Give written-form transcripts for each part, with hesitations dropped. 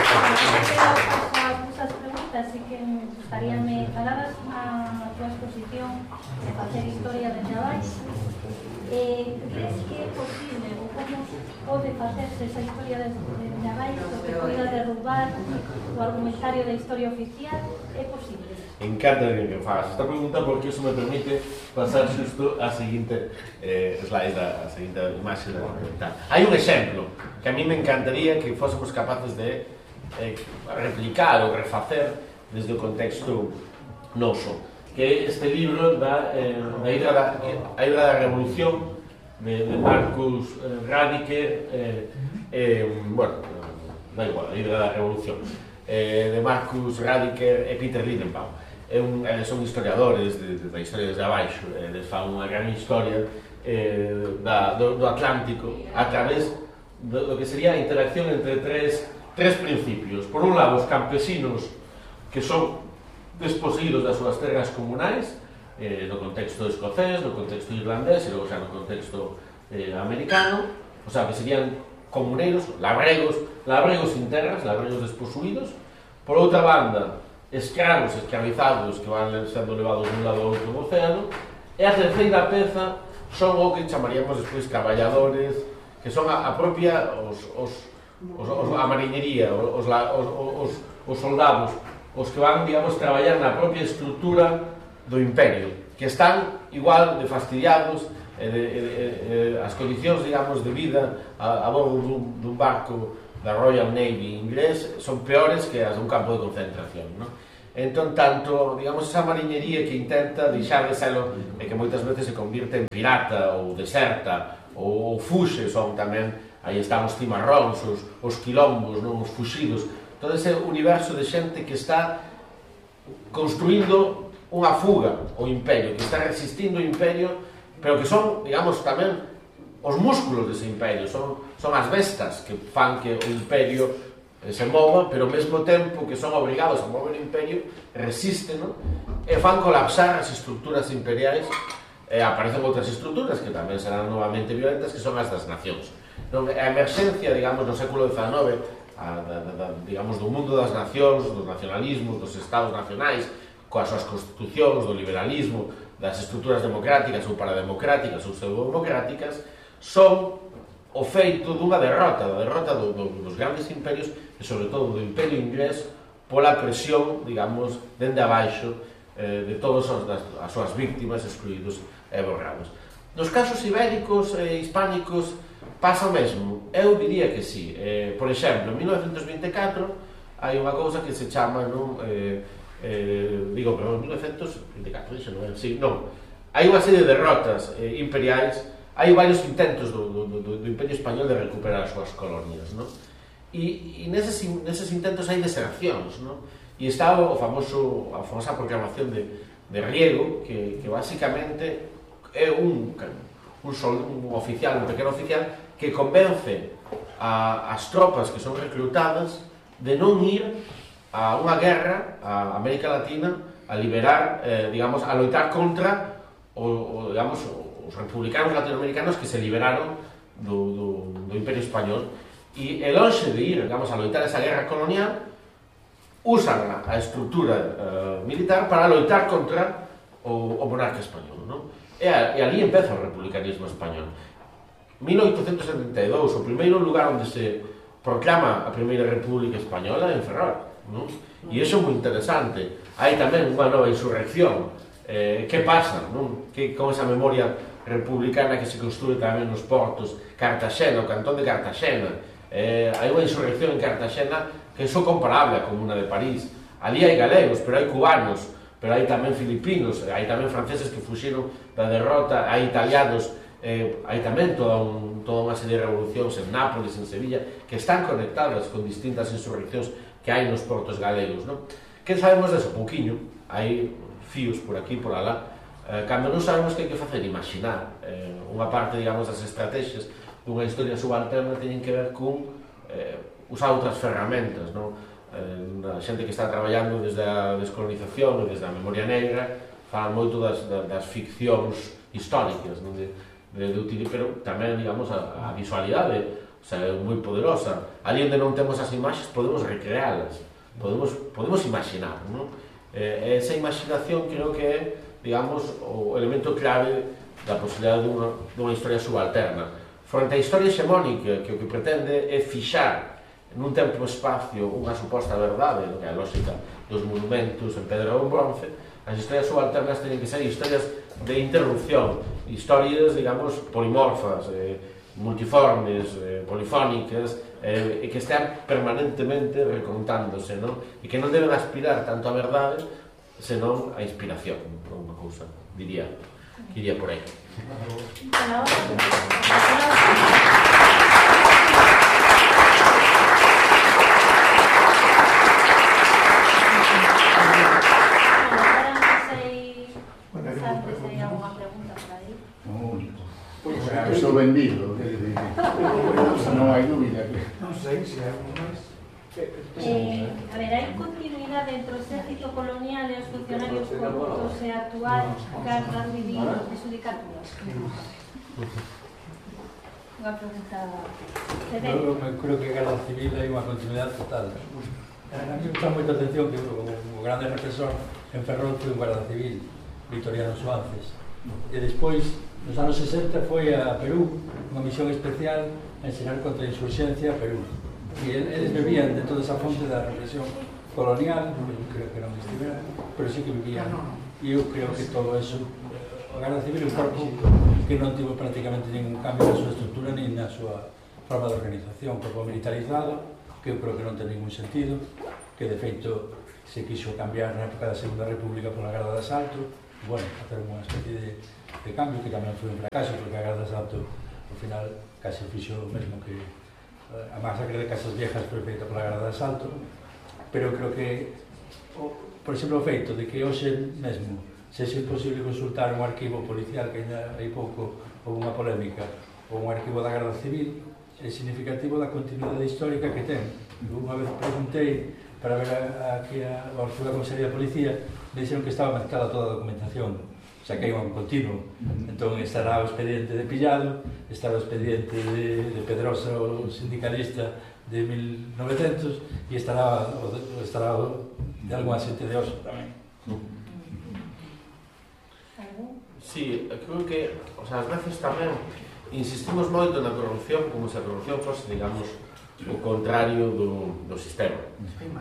Esas preguntas sí que me gustaría me falaras a túa exposición de facer historia desde abaixo. Crees que é posible ou como pode facerse esa historia desde abaixo que poida derrubar o argumentario da historia oficial? É posible? Encanta que fagas esta pregunta porque iso me permite pasar xusto a seguinte slide, a seguinte imaxe da documental. Hai un exemplo que a mí me encantaría que fósemos capaces de replicar ou refacer desde o contexto noso, que é este libro da Hidra da Revolución de Marcus Radiker, bueno, da igual, a Hidra da Revolución de Marcus Radiker e Peter Lidenbaum. Son historiadores da historia desde abaixo, eles fan unha gran historia do Atlántico a través do que sería a interacción entre tres principios. Por un lado, os campesinos que son desposeídos das súas terras comunais, no contexto escocés, no contexto irlandés e logo xa no contexto americano, o sea, que serían comuneiros, labregos sin terras, labregos desposuídos. Por outra banda, escravos, escravizados que van sendo levados dun lado ao outro do océano. E a terceira peza son o que chamaríamos despois caballadores, que son a propia a mariñería, os soldados, os que van, digamos, traballar na propia estrutura do imperio, que están igual de fastidiados, as condicións, digamos, de vida a bordo dun barco da Royal Navy inglés son peores que as dun campo de concentración, non? Entón, tanto, digamos, esa mariñería que intenta deixar de selo e que moitas veces se convirte en pirata ou deserta ou fuxe, son tamén, aí están os cimarróns, os quilombos, non? Os fuxidos, todo ese universo de xente que está construindo unha fuga ao imperio, que está resistindo o imperio, pero que son, digamos, tamén os músculos dese imperio, son as bestas que fan que o imperio se mova, pero ao mesmo tempo que son obrigados a mover o imperio, resisten, non? E fan colapsar as estruturas imperiais, e aparecen outras estruturas que tamén serán novamente violentas, que son as das nacións. A emerxencia, digamos, no século XIX, digamos, do mundo das nacións, dos nacionalismos, dos estados nacionais, coas súas constitucións, do liberalismo, das estruturas democráticas ou parademocráticas ou pseudodemocráticas, son o feito dunha derrota, da derrota dos grandes imperios e, sobre todo, do imperio inglés pola presión, digamos, dende abaixo de todas as súas víctimas excluídos e borrados. Nos casos ibéricos e hispánicos pasa o mesmo? Eu diría que sí. Por exemplo, en 1924 hai unha cousa que se chama, non? Digo, pero en 1924, dixo, non é? Sí, non. Hai unha serie de derrotas imperiais. Hai varios intentos do Imperio Español de recuperar as súas colonias, non? E neses intentos hai desercións, non? E está a famosa proclamación de Riego, que basicamente é un oficial, un pequeno oficial, que convence as tropas que son reclutadas de non ir a unha guerra a América Latina a liberar, digamos, a loitar contra digamos, os republicanos latinoamericanos que se liberaron do Imperio Español, e lonxe de ir, digamos, a loitar esa guerra colonial, usan a estrutura militar para loitar contra o monarca español, non? E ali empeza o republicanismo español. 1872, o primeiro lugar onde se proclama a Primeira República Española en Ferrol, non? E iso é moi interesante. Hai tamén unha nova insurrección. Que pasa, non? Con esa memoria republicana que se construe tamén nos portos, Cartaxena, o cantón de Cartaxena, hai unha insurrección en Cartaxena que é só comparable á Comuna de París. Ali hai galegos, pero hai cubanos, pero hai tamén filipinos, hai tamén franceses que fuxiron da derrota, hai italianos, hai tamén toda unha serie de revolucións en Nápoles, en Sevilla, que están conectadas con distintas insurreccións que hai nos portos galegos, non? Que sabemos deso? Pouquiño, hai fíos por aquí, por alá. Cando non sabemos que hai que facer, imaginar. Unha parte, digamos, das estrategias dunha historia subalterna teñen que ver con usar outras ferramentas, non? A xente que está traballando desde a descolonización ou desde a memoria negra falan moito das ficcións históricas, non? Pero tamén, digamos, a visualidade o sea, é moi poderosa. Ali onde non temos as imaxes podemos recrealas, podemos imaginar, non? Esa imaginación creo que é, digamos, o elemento clave da posibilidade dunha historia subalterna. Fronte á historia hexemónica, que o que pretende é fixar nun tempo e espacio unha suposta verdade, que é a lógica dos monumentos en pedra ou en bronce, as historias subalternas teñen que ser historias de interrupción, historias, digamos, polimorfas, multiformes, polifónicas, e que estén permanentemente recontándose, non? E que non deben aspirar tanto a verdade, senón a inspiración, unha cousa, diría, que iría por aí. Estou vendido, non hai dúbida. Non sei se hai algo máis. A ver, hai continuidade entre o exército colonial e os funcionarios corruptos e a actual Garda Civil e Xudicatura? Unha pregunta... Eu creo que a Garda Civil hai unha continuidade total. A mí me chama moita atención que o grande represor en Ferrol foi un Garda Civil, Victoriano Suárez. E despois, nos anos 60, foi a Perú, unha misión especial a ensinar contra a insurxencia a Perú. E eles bebían de toda esa fonte da represión colonial, creo que non estivera, pero sí que vivían. E eu creo que todo eso, a Garda Civil é un corpo que non tivo prácticamente ningún cambio na súa estructura ni na súa forma de organización, corpo militarizado, que eu creo que non ten ningún sentido, que de feito se quixo cambiar na época da Segunda República pola Garda de Asalto, bueno, hacer unha especie de cambio que tamén foi un fracaso, porque a Garda de Asalto, ao final, case fixo o mesmo que a masacre de Casas Viejas foi feita pola Garda de Asalto, pero creo que, por exemplo, o feito de que hoxe mesmo sexa imposible consultar un arquivo policial, que ainda hai pouco houve unha polémica, ou un arquivo da Garda Civil, é significativo da continuidade histórica que ten. Unha vez preguntei para ver aquí ao arquivo da Comisaría de Policía, me dixeron que estaba mezclada toda a documentación, o sea, que hai un continuo. Entón estará o expediente de Pillado, estará o expediente de Pedrosa, o sindicalista de 1900, e estará de algún asente de Oso tamén. Sí, creo que, o sea, ás veces tamén insistimos moito na corrupción como se a corrupción fose, digamos, o contrario do sistema.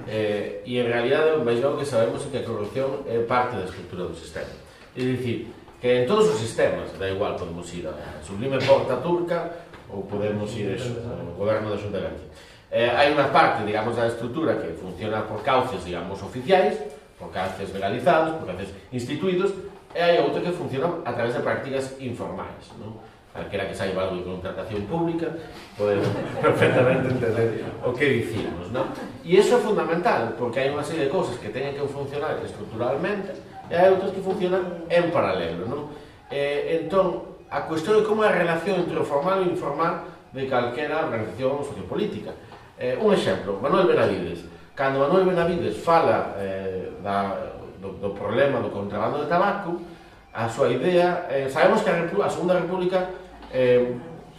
E en realidade, máis o que sabemos é que a corrupción é parte da estrutura do sistema. É dicir, que en todos os sistemas, da igual, podemos ir a Sublime Porta Turca ou podemos ir ao goberno da Xunta de Galicia. Hai unha parte, digamos, da estrutura que funciona por cauces, digamos, oficiais, por cauces legalizados, por cauces instituídos, e hai outra que funciona a través de prácticas informais, non? Calquera que saiba algo de contratación pública pode perfectamente entender o que dicimos, non? E iso é fundamental, porque hai unha serie de cousas que teñen que funcionar estruturalmente e hai outras que funcionan en paralelo, non? Entón, a cuestión de como é a relación entre o formal e o informal de calquera organización sociopolítica. Un exemplo, Manuel Benavides. Cando Manuel Benavides fala do problema do contrabando de tabaco, a súa idea, sabemos que a Segunda República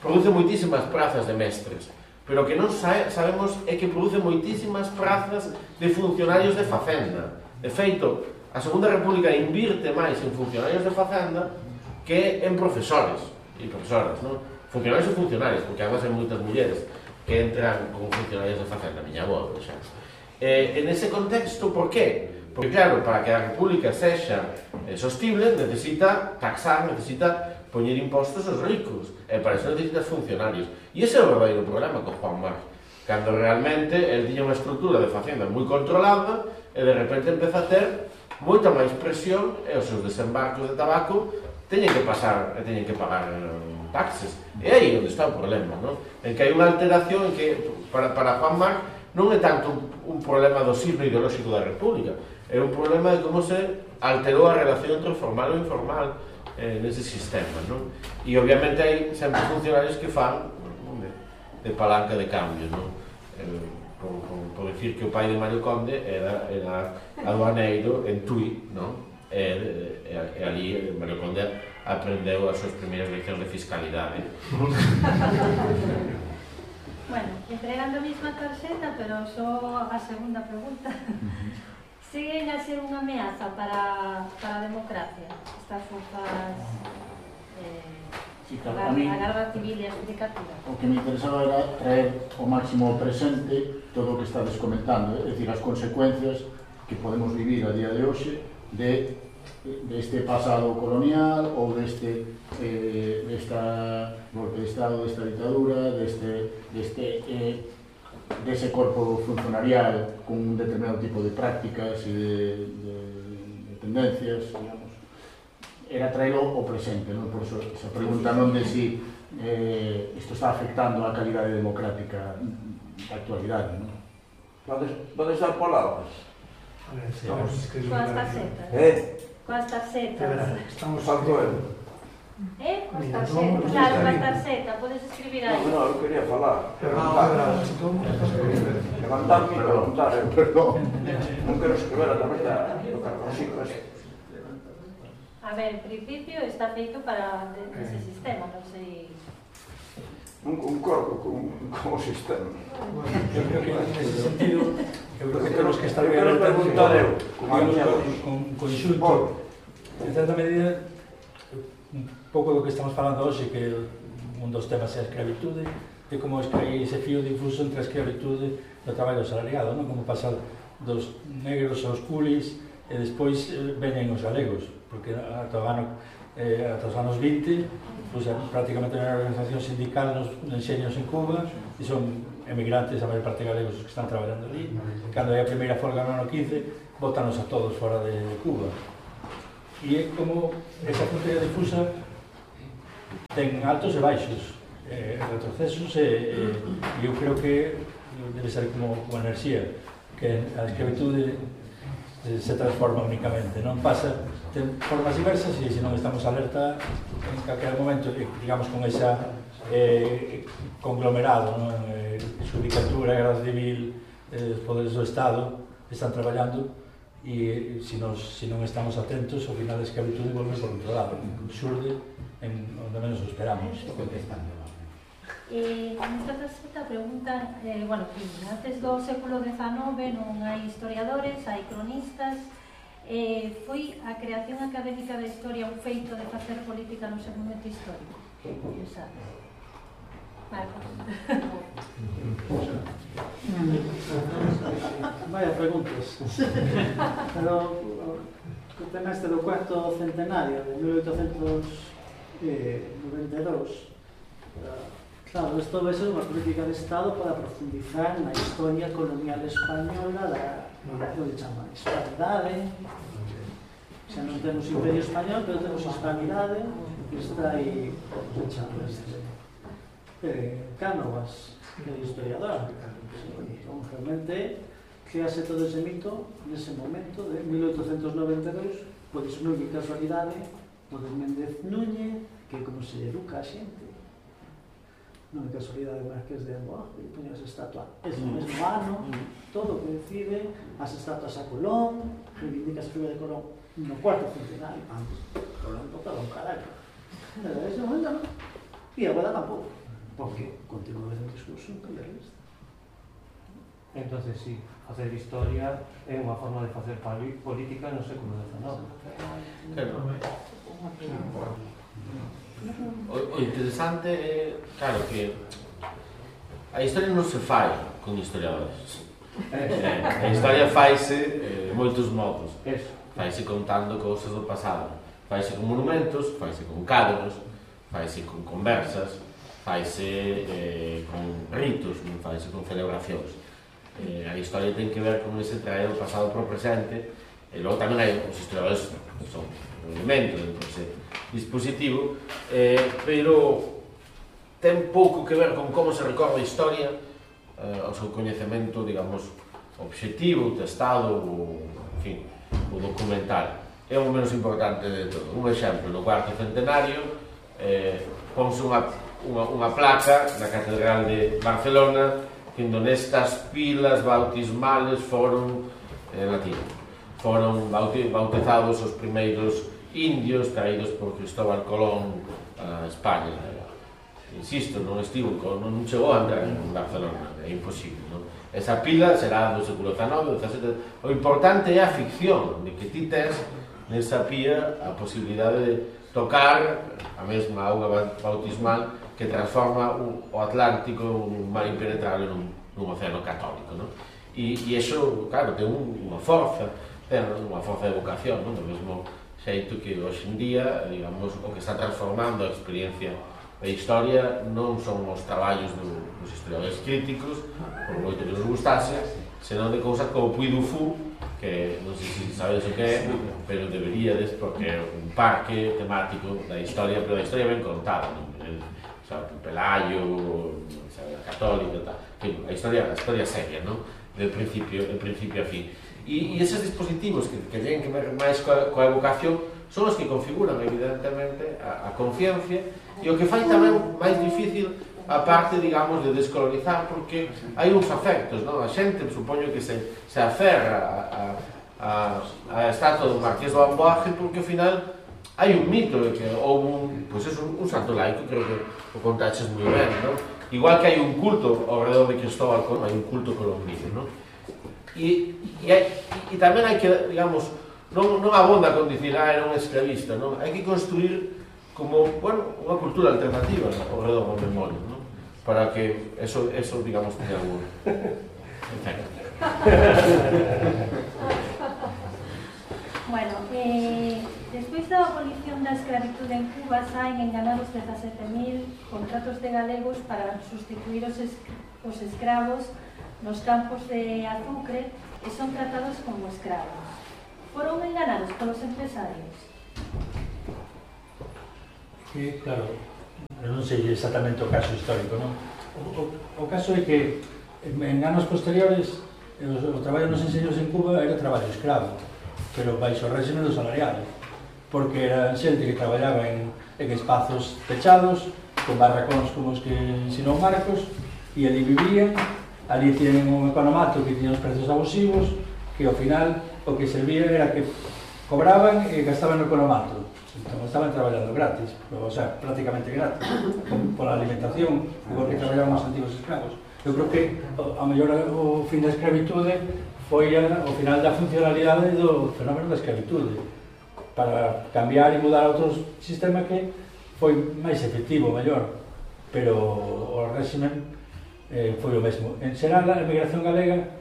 produce moitísimas prazas de mestres, pero que non sabemos é que produce moitísimas prazas de funcionarios de Facenda. De feito, a Segunda República invirte máis en funcionarios de Facenda que en profesores e profesoras, non? Funcionarios e funcionarios, porque además hai moitas mulleres que entran como funcionarios de Facenda, a miña avó, por exemplo. En ese contexto, por qué? Porque, claro, para que a República sexa sostible, necesita taxar, necesita poñer impostos aos ricos, e para eso necesitas funcionarios. E ese é o verdadeiro problema con Juan Mar, cando realmente el tiña unha estrutura de facenda moi controlada e de repente empeza a ter moita máis presión e os seus desembarcos de tabaco teñen que pasar e teñen que pagar taxes. E aí onde está o problema, non? En que hai unha alteración en que para Juan Mar non é tanto un problema do signo ideolóxico da República, é un problema de como se alterou a relación entre o formal e o informal nese sistema, non? E obviamente hai sempre funcionarios que fan de palanca de cambio, non? Por decir que o pai de Mario Conde era aduaneiro en Tui, non? E ali Mario Conde aprendeu as súas primeiras leccións de fiscalidade. Bueno, entregando a mesma tarxeta, pero só a segunda pregunta. Seguen a ser unha ameaza para a democracia estas forzas a Garda Civil e a Xudicatura? O que me interesaba era traer o máximo presente todo o que estades comentando, é dicir, as consecuencias que podemos vivir a día de hoxe deste pasado colonial ou deste golpe de Estado, desta ditadura, dese corpo funcionarial con un determinado tipo de prácticas e de tendencias, digamos. Era traelo o presente, non? Por eso esa pregunta non de si isto está afectando a calidade democrática da actualidade, non? Podes dar palabras? Coas tarxetas. Coas tarxetas. Estamos falto eu. Coas tarxetas. Claro, coas tarxetas. Podes escribir aí. Non, eu quería falar. Levantarme e preguntar. Non quero escribir a través do carboncito ese. A ver, en principio está feito para ese sistema, non sei... Non concordo con o sistema. Eu creo que en ese sentido, eu creo que temos que estar Eu quero preguntar eu, con conxunto, en certa medida, un pouco do que estamos falando hoxe, que un dos temas é a escravitude, e como hai ese fío difuso entre a escravitude do traballo asalariado, non? Como pasar dos negros aos culis, e despois veñen os galegos, porque ata os anos 20 pues, prácticamente non hai organización sindical nos enxeños en Cuba e son emigrantes, a maior parte galegos os que están traballando ali. Cando hai a primeira folga no ano 15, botanos a todos fora de Cuba. E é como esa fronteira difusa ten altos e baixos, retrocesos, e eu creo que debe ser como a enerxía, que a escravitude se transforma únicamente, non pasa, ten formas diversas e se non estamos alerta en calquer momento, digamos, con esa conglomerado, non? Xudicatura, Garda Civil, os poderes do Estado están traballando e se non estamos atentos, ao final a escravitude volve por outro lado, xurde en onde menos o esperamos. Nesta tarxeta preguntan, bueno, antes do século XIX non hai historiadores, hai cronistas, foi a creación académica da historia un feito de facer política no seu momento histórico? Que sabes? Marcos. Vaya preguntas. Pero o tema este do cuarto centenario de 1892, claro, isto vai ser unha política de Estado para profundizar na historia colonial española do que chama hispanidade. Xa non temos imperio español, pero temos hispanidade, que está aí, que chama Cánovas, que é historiador. Realmente, crease todo ese mito nese momento de 1892, pois non é casualidade, o de Méndez Núñez, que como se educa a xente, non é casualidade Marqués de Amboa, que poña as estatuas ese mesmo ano, todo o que decide, as estatuas a Colón, reivindica a figura de Colón no cuarto centenario, antes, Colón tocaba un caralho. Pero ese momento non. E agora tampouco, porque continúa o discurso imperialista. Entonces, sí, facer historia é unha forma de facer política no século XIX. O interesante é, claro, que a historia non se fai con historiadores. A historia faise moitos modos. Faise contando cousas do pasado. Faise con monumentos, faise con cadros, faise con conversas, faise con ritos, faise con celebracións. A historia ten que ver con ese traer o pasado para o presente, e logo tamén hai os historiadores que son un elemento dentro dese dispositivo, pero ten pouco que ver con como se recorre a historia, o seu coñecemento, digamos, objetivo, testado, ou, en fin, o documental. É o menos importante de todo. Un exemplo, no cuarto centenario, ponse unha placa na Catedral de Barcelona que nestas pilas bautismales foron latín. Foron bautizados os primeiros indios traídos por Cristóbal Colón a España. insisto, non chegou a entrar en Barcelona, é imposible, non? Esa pila será do século XIX, XVII. O importante é a ficción, de que ti tes nesa pía a posibilidade de tocar a mesma auga bautismal que transforma o Atlántico, un mar impenetrable, nun océano católico, non? E iso, claro, ten unha forza de vocación, non? Do mesmo xeito que hoxe en día, digamos, o que está transformando a experiencia da historia non son os traballos dos historiadores críticos, por moito que nos gustase, senón de cousas como Puy du Fou, que non sei se sabedes o que é, pero deberíades, porque é un parque temático da historia, pero da historia ben contada, non? Pelayo, a católica, tal. A historia seria, non? Del principio a fin. E eses dispositivos que ten que ver máis coa evocación son os que configuran, evidentemente, a conciencia e o que fai tamén máis difícil a parte, digamos, de descolonizar, porque hai uns afectos, non? A xente, supoño que se aferra a estatua do Marqués do Amboaje porque, ao final, hai un mito de que houve un santo laico, creo que o contaches moi ben, non? Igual que hai un culto ao redor de Cristóbal Colón, hai un culto colombino, non? E tamén hai que, digamos, non abonda con dicir, era un esclavista, non? Hai que construir como, bueno, unha cultura alternativa ao redor do memoria, non? Para que eso digamos, tenha algún efecto. Bueno, despois da abolición da escravitude en Cuba saen enganados 17.000 contratos de galegos para sustituir os escravos nos campos de azucre e son tratados como escravos. Foron enganados polos empresarios? Que, claro, non sei exactamente o caso histórico, non? O caso é que en anos posteriores o traballo nos enseños en Cuba era traballo escravo, pero baixo o régimen do salarial, porque era xente que traballaba en espazos pechados, con barracóns como os que ensinou Marcos, e ali vivían, ali tienen un economato que tiña os prezos abusivos, que ao final o que servía era que cobraban e gastaban no economato. Entón estaban traballando gratis, o sea, prácticamente gratis, pola alimentación, igual que traballaban os antigos escravos. Eu creo que a mellor o fin da escravitude foi o final da funcionalidade do fenómeno da escravitude, para cambiar e mudar a outro sistema que foi máis efectivo, mellor, pero o régimen foi o mesmo. En xeral, a emigración galega,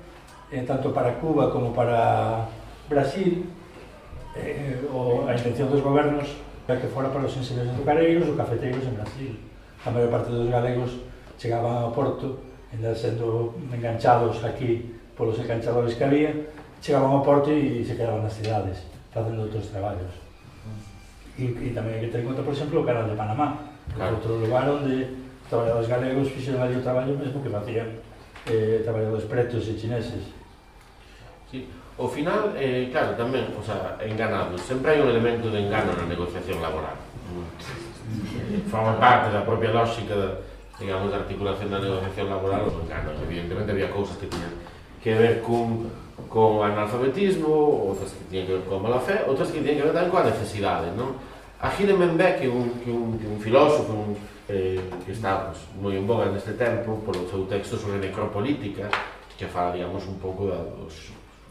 tanto para Cuba como para Brasil, a intención dos gobernos era que fora para os enxeños azucareiros ou cafeteiros en Brasil. A maior parte dos galegos chegaban ao porto, ainda sendo enganchados aquí polos enganchadores que había, chegaban ao porto e se quedaban nas cidades facendo outros traballos. E tamén hai que ter en conta, por exemplo, o canal de Panamá, que é outro lugar onde traballadores galegos fixeron ali o traballo mesmo que facían traballadores pretos e chineses. Sí. Ao final, claro, tamén, o sea, enganados. Sempre hai un elemento de engano na negociación laboral. Forma parte da propia lógica digamos, da articulación da negociación laboral, os enganos. Evidentemente había cousas que tiñan que ver con analfabetismo, outras que tiñan que ver con mala fe, outras que tiñan que ver tamén coa necesidade, non? Achille Mbembe, que é un filósofo que está moi en boga neste tempo polo seu texto sobre necropolítica, que fala, digamos, un pouco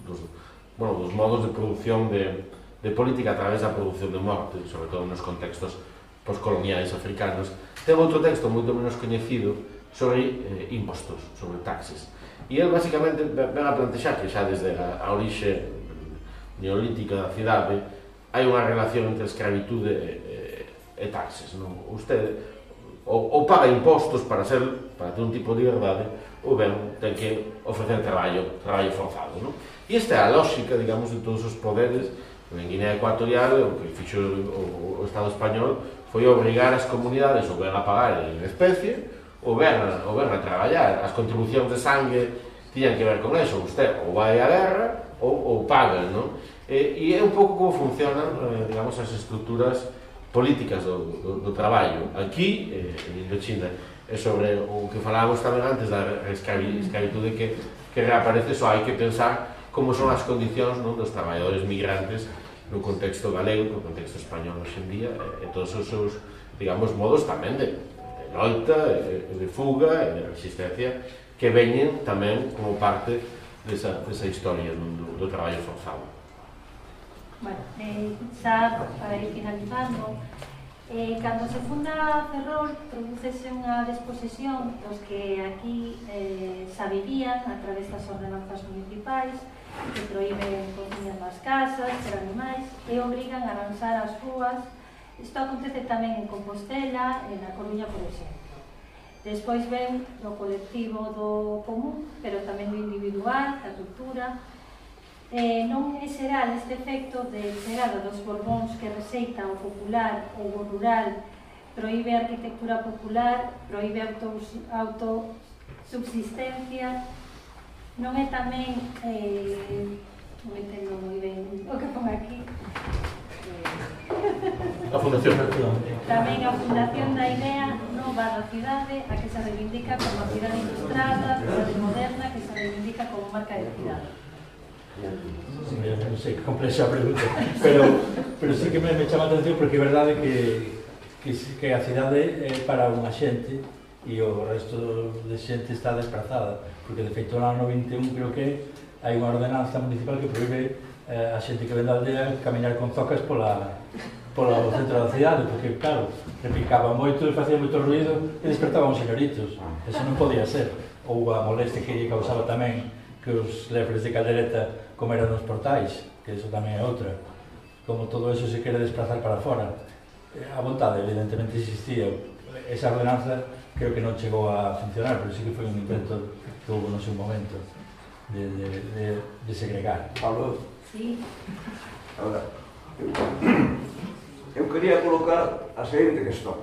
dos modos de produción de política a través da produción de morte, sobre todo nos contextos postcoloniais africanos. Ten outro texto moito menos coñecido sobre impostos, sobre taxes. E ele, basicamente, ven a plantexar que xa desde a orixe neolítica da cidade hai unha relación entre escravitude e taxes. Usted ou paga impostos para ter un tipo de liberdade, ou ben ten que ofrecer traballo forzado. E esta é a lógica, digamos, de todos os poderes. En Guinea Ecuatorial, o que fixo o Estado español foi obrigar as comunidades ou ben a pagar en especie ou ben a traballar. As contribucións de sangue tiñan que ver con eso. Usted ou vai a guerra ou paga, non? E é un pouco como funcionan, digamos, as estruturas políticas do traballo. Aquí, en Indochina, é sobre o que falábamos tamén antes da escravitude que reaparece. Só hai que pensar como son as condicións dos traballadores migrantes no contexto galego, no contexto español hoxe en día, e todos os seus, digamos, modos tamén de loita, de fuga e de resistencia que veñen tamén como parte desa historia do traballo forzado. Bueno, xa para ir finalizando, cando se funda Ferrol, producese unha disposición dos que aquí xa vivían a través das ordenanzas municipais que proíben cociñas nas casas, ter animais e obrigan a arranxar as rúas. Isto acontece tamén en Compostela e na Coruña, por exemplo. Despois ven do colectivo do común, pero tamén do individual, da cultura. Non é xeral este efecto de chegada dos Borbóns que rexeita o popular ou o rural, proíbe a arquitectura popular, proíbe a autosubsistencia. Non é tamén, non entendo moi ben o que pon aquí, A Fundación. tamén a fundación da idea nova da cidade, a que se reivindica como a cidade ilustrada, cidade moderna, que se reivindica como marca de cidade. Non sei que complexa a pregunta, pero sí que me chama a atención porque é verdade que a cidade é para unha xente e o resto de xente está desplazada, porque de feito no ano 21 creo que hai unha ordenanza municipal que proíbe a xente que ven da aldea camiñar con zocas pola centro da cidade, porque claro, repicaba moito, facía moito ruido e despertaban os señoritos. Eso non podía ser. Ou a molestia que lle causaba tamén que os lepres de Caldereta comeran nos portais, que eso tamén é outra. Como todo eso se quere desplazar para fora. A vontade evidentemente existía. Esa ordenanza creo que non chegou a funcionar, pero sí que foi un intento que houve no seu momento de segregar. Pablo, Sí. ahora, eu quería colocar a seguinte questão.